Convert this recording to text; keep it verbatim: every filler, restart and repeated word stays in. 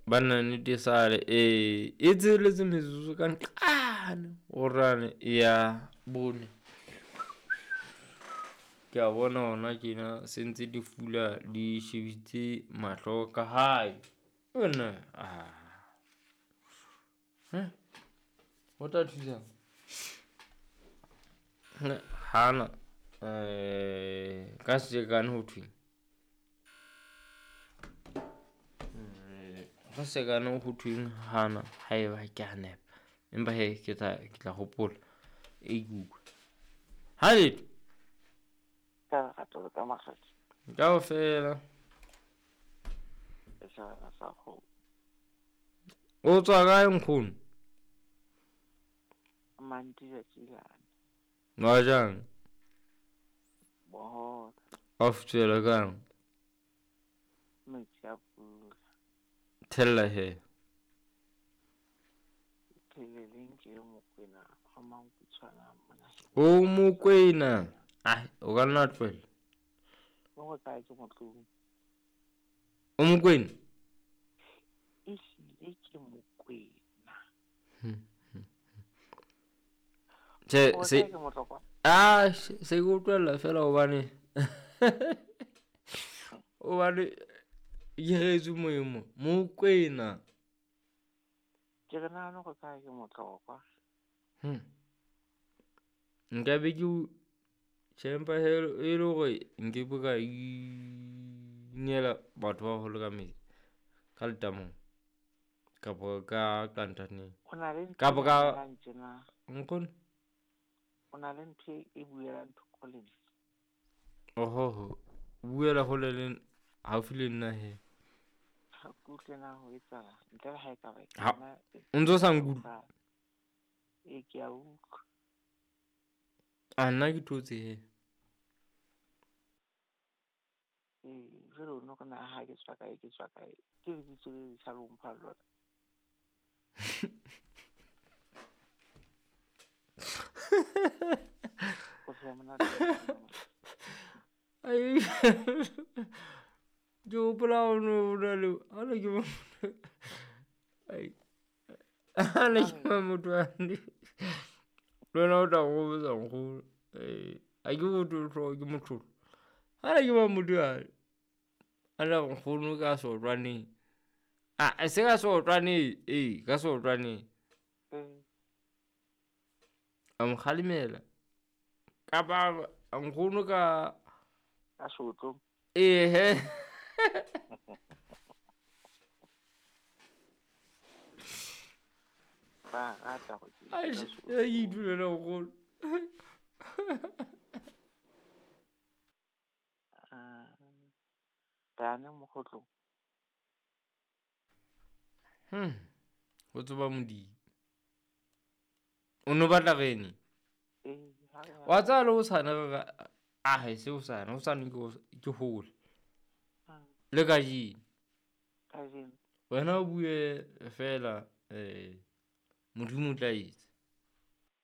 Banna nnete sale e e tsheletse metsotso ka nqane orane ya bone. Ke a bona hona tjena se ntse di fula di shebitse mahlo ka hae. Ona ah. Ho tla thusa hana eh ka sejekane ho thweng ka sejekane ho thweng hana haeba ke a nepa. Empa hee ke tla ke tla hopola e bua. Ha letho Ka lerato le ka makgethe. Kaofela. E sa sa kgomo. O tswa kae nkgono? Mantija tjilane. Wa jang? Bohola. Wa futswela kang? Metsi a pula. Thella he. Pheleleng ke Mokwena wa Mankutshwana mona. O Mokwena. Ah, o ka nna tlohela. O go kae ke motlong. O Mokwena? Ehlile ke Mokwena. Tjhe, O se kae ke motlokwa? ah se ke utlwella fela hobane hobane ke retswe moemo Mokwena. Ke re nahane go kae ke motlokwa. Hmm. Nka be ke o tjhe empa he e le hore nke be ka inela batho ba baholo ka metsi ka letamong kapa ka kantaneng O na le ntho kapa e ka buelang tjena. nkgono. O na le ntho e buelang thoko le nna. Oho, buela hole le haufi le nna he. Ha ke utlwe na ho etsahala ntle le ha e ka ba Ha nna o ntso sa nkutlwe? E ke a utlwa. A nna ke thotse he. Ee, jwale o no re na ha ke tswa kae ke tswa kae. Ke lebitso le letjha le o mphang lona. O tswa monate. Ai. Ke hopola o no na le ha ne ke ai. Ha ne ke ba motho wa le wena o tla nkgopotsa nkgono. Eh, ha ke motho hlooho ke motho. Ha ne ke ba motho ya a la nkgono ka sotlwaneng. Ah, se ka sotlwaneng, eh, ka sotlwaneng. Mm. A mo kgalemela. Kapa nkgono ka Ka sotlong. Eh he. Ba rata go ke. Ai, e ke itulela nkgono. Ah. Dane mokgotlong. Hmm. Ho tseba Modimo. O no batla rene? Eh, ha re Wa tseba le hosane re ka ah se hosane, hosane ke ke hole. Ah. Le kajeno. Kajeno. Wena o bue fela eh Modimo o tla etsa.